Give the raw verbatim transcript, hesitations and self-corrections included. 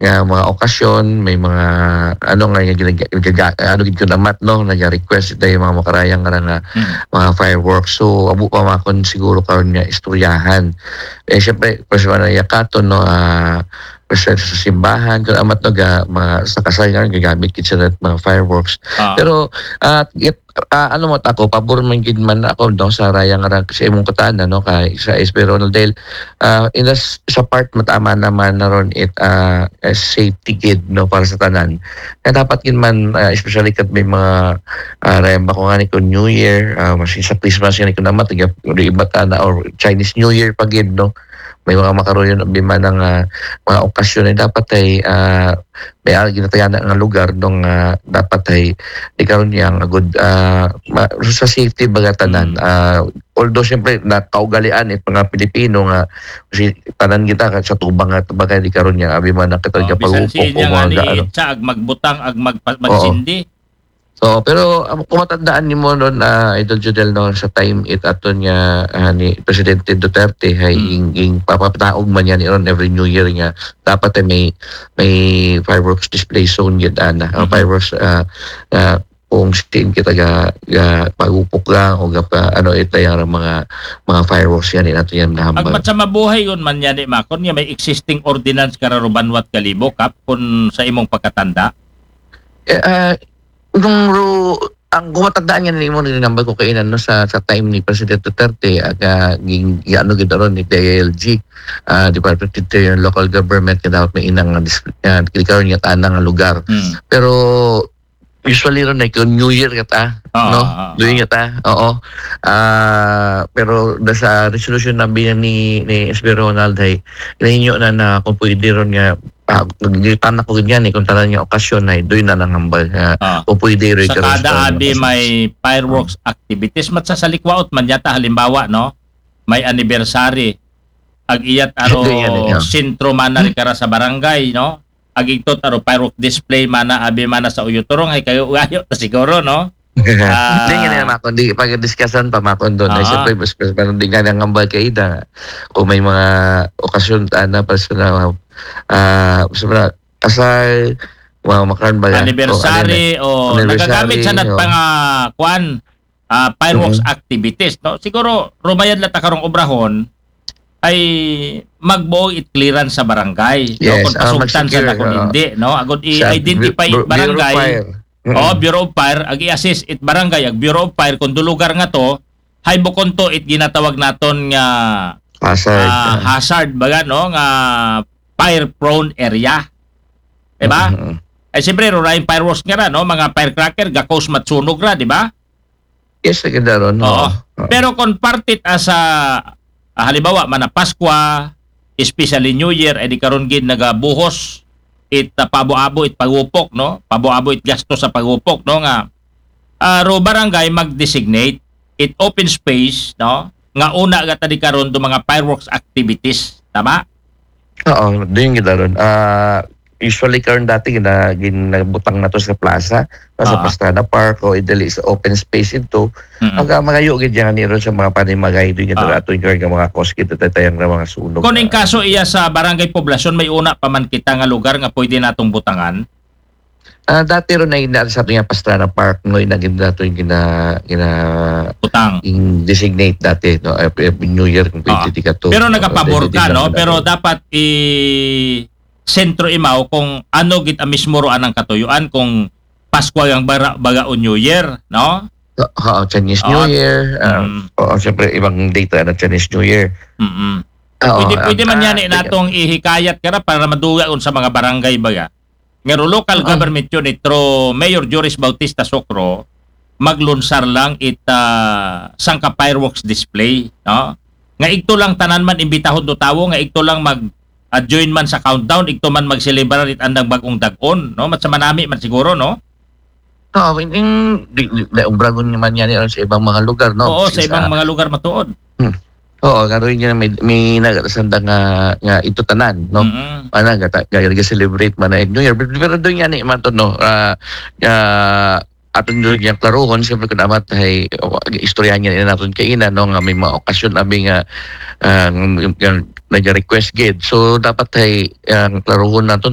nga mga okasyon, may mga ano nga nga ginaga- gaga- ano gid kun amat, no, naga-request tayo mga makarayang nga nga Mm. mga fireworks. So amo pa makon siguro karon nga istoryahan. Eh syempre, personal na yakaton, no, ah, personal sa simbahan, kun amat, no, ga, mga sa kasal nga gagamit gid sila mga fireworks. Ah. Pero at it, ah, ano mo ako, pabor man gid man ako, no, sa raya nga ra- sa imong kutana, no, kay sa S P Ronald Dale, ah, in the s- sa part matama naman na ron it ah, eh, safety gid, no, para sa tanan. Kaya dapat gid man, ah, especially kat may mga uh, rayang bako nga ni kun New Year, ah, mas sa Christmas nga ni kun amat, iba ta na, or Chinese New Year pa gid, no, may mga makaroon abi man nga mga okasyon ay dapat ay ah, may ah, ginatagana nga lugar dong ah, dapat ay di karon niya nga good ah, ma- sa safety baga tanan. Mm. Ah, although siyempre nakaugalian it mga Pilipino nga si tanan kita ka sa tubang nga bagay di karon niya abi man ang kita Oh, ka bisan pagupok siya o nga mga ni ano. Itza, ag magbutang, ag mag, magsindi. So, pero um, kung matandaan nimo ron, ah, Idol Judel, no, sa time it aton nga ah, ni Presidente Duterte hay Mm. ing, ing papataog man yan ron every New Year nga dapat ay may may fireworks display zone gid ana. Ah, Mhm. fireworks ah, ah, kung saan kita ga, ga pagupok lang o ga pa, ano ito yung mga mga fireworks yan nato yan nahambal. Agmat sa mabuhay yun man yan, eh, makon nga may existing ordinance kararuban wat kalibo kap kun sa imong pagkatanda. Eh, ah, nung ro, ang kumatandaan niya nimo ni nambal ko kainan, no, sa sa time ni President Duterte aga ging ano gid ron ni D I L G, ah, Department of Interior and Local Government, nga dapat may inang nga dis- ah, karon nga tanang nga lugar. Hmm. Pero usually ron ay kung New Year ka ta, Oo, no? oo, Doon oo. Ka ta, oo. Ah, pero da sa resolution na biya ni ni S B Ronald ay nahinyo na na kung pwede ron nga ah, naglitan ako ganyan eh, kung tanan niya okasyon ay doon na nang hambal nga Ah. kung pwede ron Sa ka kada restaurant abi kasi- may fireworks activities, mat sa salikwaot man yata, halimbawa, no? May anniversary. Ag iyat aro Hindi yan, eh, oh. sentro mana ri kara sa barangay, no? Ag igtot aro firework display mana, abi mana sa Uyotorong, ay kayo ugayo ta siguro, no? Ah. Hindi nga naman ako, hindi pag-discussan pa makon doon. Ay, Ah. siyempre, mas, mas, mas, hindi nga nang hambal kay Ida. Kung may mga okasyon, ana, personal, ah, personal, kasal, mga makaran ba yan? Anniversary, O, o ano na, nagagamit sa anniversary, nat o. pa nga, kuan, ah, fireworks Mhm. activities, no? Siguro, rumayad la ta karong obrahon, ay magbuo it clearance sa barangay, no? Yes, Kung ah, pasugtan sa mag-secure, na kung oo. hindi, no? Agud Sa i-identify Bu- Bu- Bureau of barangay, Fire. Mm. Oh, Bureau of Fire, ag i-assist it barangay, ag Bureau of Fire, kung do lugar nga to, hay bukon to it ginatawag naton nga Hazard. ah, hazard baga, no, nga fire prone area. Diba? Mhm. Ay siyempre, rurayong fireworks nga ra, no? Mga firecracker, gakos matsunog ra, di ba? Yes, sa ganda ron. Oo. Oo. Pero kung partit as a, ah, halimbawa, mana Paskwa, especially New Year, ay di karon gid nagabuhos it ah, pabo-abo it pagupok, no? Pabo-abo it gasto sa pagupok, no? Nga ah, ro barangay mag-designate it open space, no? Nga una gata di karon do mga fireworks activities, tama? Oo, doon gid ron. Ah, usually karon dati gina ginabutang na to sa plaza, no, sa Ah. Pastrana Park o idali sa open space ito. Mm-mm. Ang ah, magayo gid yan ni ron sa mga panimagay doon gid Ah. ato yung mga cause kita tayang na mga sunog. Kung in kaso iya sa barangay poblasyon, may una pa man kita nga lugar nga pwede natong butangan. Ah, dati ron na ina sa ato yung Pastrana Park, no, ina gid nato yung gina gina Butang. yung designate dati, no, every New Year kung Ah. pwede di ka to. Pero nagapabor Pwede ka, di no? ka Pero to. Dapat i sentro imaw kung ano gid ang mismo ro anang katuyuan, kung Pasko ang bara, baga o New Year, no? Oo, Chinese Oo. New Year. ah, Mm. Oo, siyempre, ibang data na Chinese New Year. Mm-mm. Oo, Pwede, pwede ang- man ah, yan eh, natong ihikayat ka na para maduga unsa mga barangay baga. Nga ro local Oo. government unit, through Mayor Joris Bautista Socro, maglunsar lang it ah, sangka fireworks display, no? Nga igto lang tanan man imbitahon do tawo, nga igto lang mag ah, join man sa countdown, igto man magselebrar it andang bag-ong dag-on, no? Mat sa manami man siguro, no? Oo, in, in, di, di, di, ubragon naman yan yun sa ibang mga lugar, no? Oo, sa Kasi ibang mga lugar matuod. Oo, nga rin yun, may, may nagasanda nga, nga ito tanan, no? Mm-mm. Ano, gata, gata, celebrate man na New Year. Pero, pero doon yan, eh, man to, no? Ah, ah, aton doon yung klaruhon, siyempre kung amat ay, o, istorya niya na natin kaina, no? Nga may mga okasyon, abi nga, ah, nga, nga nag-request gid. So, dapat ay, ang klaruhon nato,